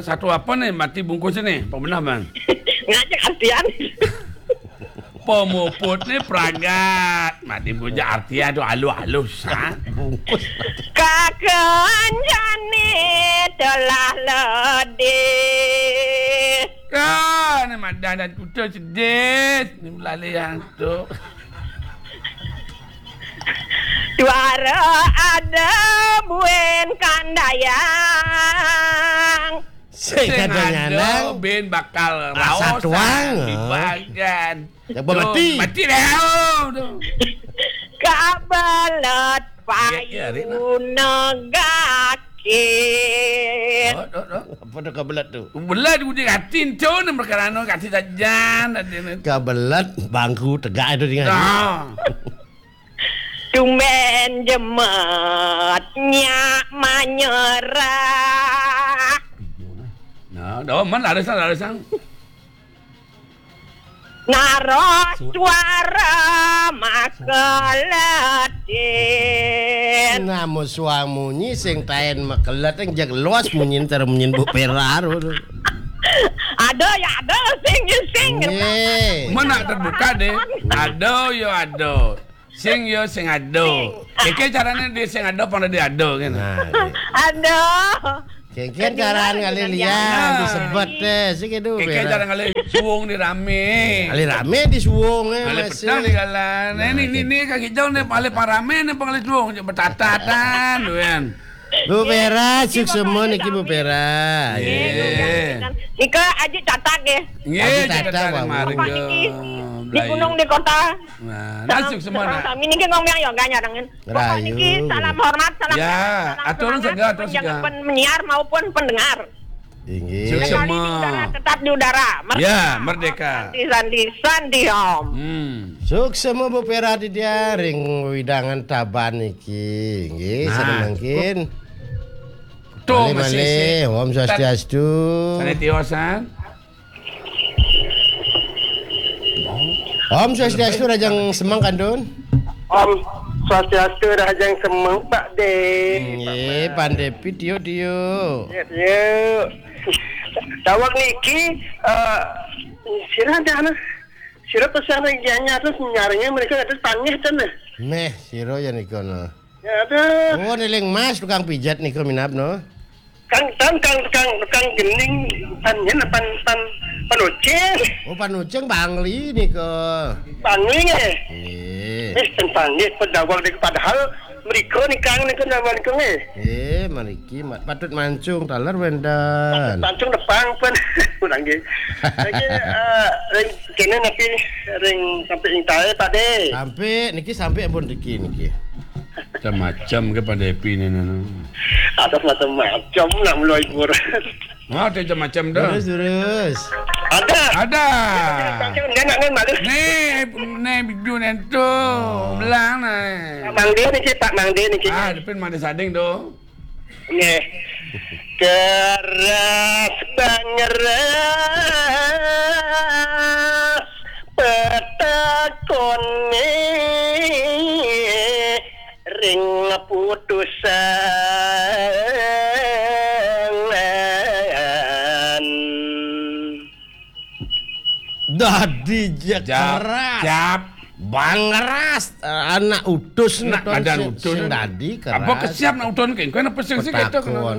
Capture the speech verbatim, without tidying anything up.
Satu apa ni mati bungkus ni? Apa benar, Bang? Ngajak artian. Pemuput ni peragat. Mati bungkus artian tu halus-halus, ha? Bungkus. Kakan jani telah ledih. Kan, madan dan tutul sedih. Ni melalui yang tu. Suara ada buin kandayang. Sing ada nyalang. Bin bakal raosan tuang, ha? Dibagan. Yang bermati. Mati dah, oh, tu. Kabelet payu negakit. Oh, oh, oh. Apa tu kabelet tu? Belet uji katin tu ni perkara anu katin sajan. Kabelet bangku tegak tu dengan. Ah. Tumben jemet nyak manyerah. Nah, dah man laris laris. Naros suara makeletin. Nah, mau suang munyi sing tain makelet yang jag luas munyi ntar munyi Bu Pera tu. Ada ya ada sing ya sing. Mana terbuka deh. Ada ya ada. Sing yo sing ado. Keke carane di sing ado apa di ado kan? Nah, iya. Aduh. Keke carane ngalih lian disebut deh, sing itu. Keke carane ngalih suwung di rame. Ngalih rame di suwung eh, ngalih masih petang di galan. Nah, ini ini kaki jauh nih paling parame nih paling suwung cek betatatan duan. Bu Pera, suksema niki Bu Pera. Nggih. Nika aji catat nggih. Nggih, aji catat, catat mari. Bapak niki di gunung di kota. Nah, nah, suksema. Sami niki ngomong yo gak nyarengin. Bapak niki salam hormat, salam hormat, salam hormat, atur segar, atur segar. Penyiar maupun pendengar. Inggih. Suksema. Tetap di udara. Ya, merdeka. Sandi, sandi, sandi, Om. Hmm. Suksema Bu Pera di dia ring widangan taban niki. Nggih, nah, mangkin. Tuh, malih, masih, malih. Om Swastiastu. Sane tiosan. Om Swastiastu, rahajeng semeng kantun. Om Swastiastu, rahajeng semeng, Pak De. Nggih, Pak Depi, tio, tio. Yes, yuk. Daweg niki, eh, sira ada anak. Sira pesan regiannya terus nyarinya mereka ada tangih ten. Meh, sira ya nika no. Ya ada. Oh, neling Mas tukang pijat nika minab no. Kang, kang, kang, kang, kang gening pan yen pan pan panucing. Oh, panucing Bangli nika. Bangli nggih. Nggih. Eh, ten Bangli pedawang nika padahal mriko nika nika nama nika nggih. Nggih, mriki ma-, patut mancung taler wenten. Patut mancung depan pun. Kurang nggih. Lagi eh, ring kene napi ring sampai ing tae Pak De. Sampai niki sampai ampun riki niki. Macam-macam ke pada happy ni, ni, ni. Ada macam-macam nak mulai kurang. Mau ada macam-macam dah. Terus, terus. Ada. Ada. Dia nak main malu. Ni, ni video ni tu. Oh. Belang ni. Mang dia ni cik, Pak Mang dia ni cik. Ah, depan Mang dia sading tu. Ni. Keras bangeras petakon ni. Ring putusan. Dadi ja-, ja-, keras. Jap. Bangeras, anak utus nak badan sing, utus. Sing dadi keras. Apa kesiap nak utus kengkon apa sing sing ketok? Petakon.